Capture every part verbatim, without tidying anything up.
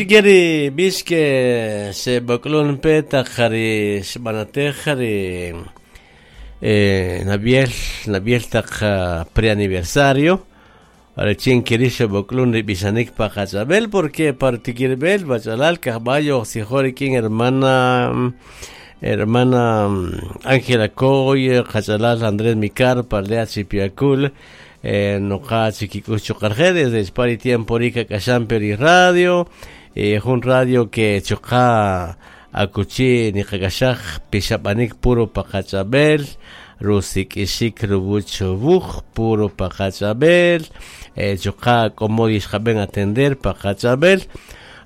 Junchikeri bix que se boklun pe taq jari xb'anatej jari eh, nabiel nabiel taq preaniversario richin keri xeb'oklun ri b'ixanik pa qach'ab'el porque partikirb'el bachalal kajb'ayo sijor rikin hermana hermana Ángela Coy qachalal Andrés Micar parlea Chipiacul eh, noqa chikik'ux chuqarje desde Spari tiempo rika k'axampe radio eh, jun radio que chuqa akuchi niqak'axaj pixab'anik puro pa qach'ab'el rusik'ixik ruwuch wuj puro pa qach'ab'el eh, chuqa k'omo yixqab'en atender pa qach'ab'el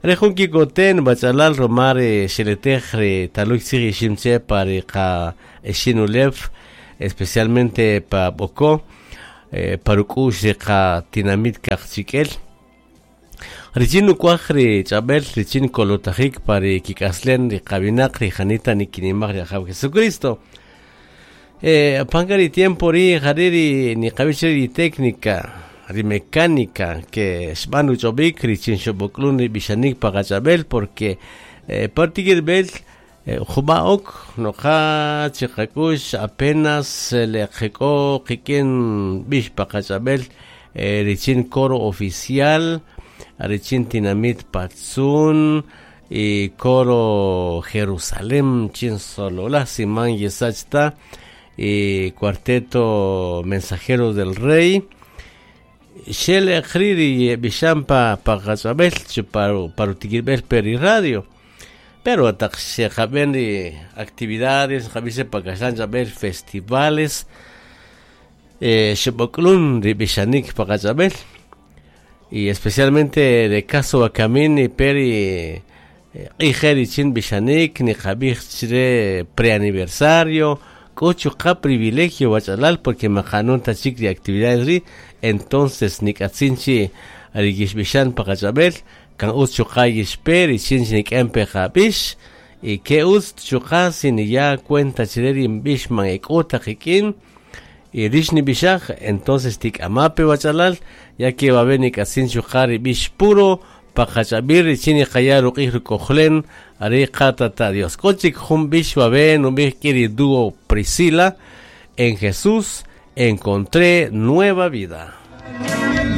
re jun kikoten bachalal romare xeletej ri taluy tzij iximche pa ri qa ixinulew especialmente pa B'oko eh, paruk'ux ri qa tinamit kaqchikel richin nuk'waj ri ch'ab'el richin kolotajik pa ri kik'aslen ri qawinaq ri janita nikinimaj ri Ajaw Jesucristo eh, panka ri tiempo ri jari ri niqab'ij ri técnica ri mecánica que xb'an ruch'ob'ik richin xob'oklun ri b'ixanik pa qach'ab'el porque eh, partikirb'el eh, jub'a'ok noqa chiqak'ux apenas le qek'o qikin b'ix pa qach'ab'el eh, richin coro oficial richin tinamit Patzún y coro Jerusalén chin Solola Simán Yesachta y cuarteto Mensajeros del Rey xel ri b'ixan pa pa qach'ab'el parutikib'el peri radio pero taq xeqab'en ri actividades qab'ix pa kaxlan ch'ab'el festivales eh, xeb'oklun ri b'ixanik pa qach'ab'el y especialmente de caso Akamini peri q'ij richin b'ixanik niqab'ij chre preaniversario k'o chuqa privilegio wach'alal porque maqanun ta chik ri actividades ri entonces nik'atzin chi ri yixb'ixan pa qach'ab'el kan utz chuqa yixpe richin nik'en pe qab'ix y ke utz chuqa si niya cuenta chre ri b'ix man ek'o ta qik'in y rix nib'ixaj entonces tik'amape wach'alal ya que va a nik'atzin chuqa ri b'ix puro pa qach'ab'il richin niqaya ruq'ij ruk'ojlen ari qatata Dios k'o chik jun b'ix wabe nub'ij k'i dúo Priscila en Jesús encontré nueva vida.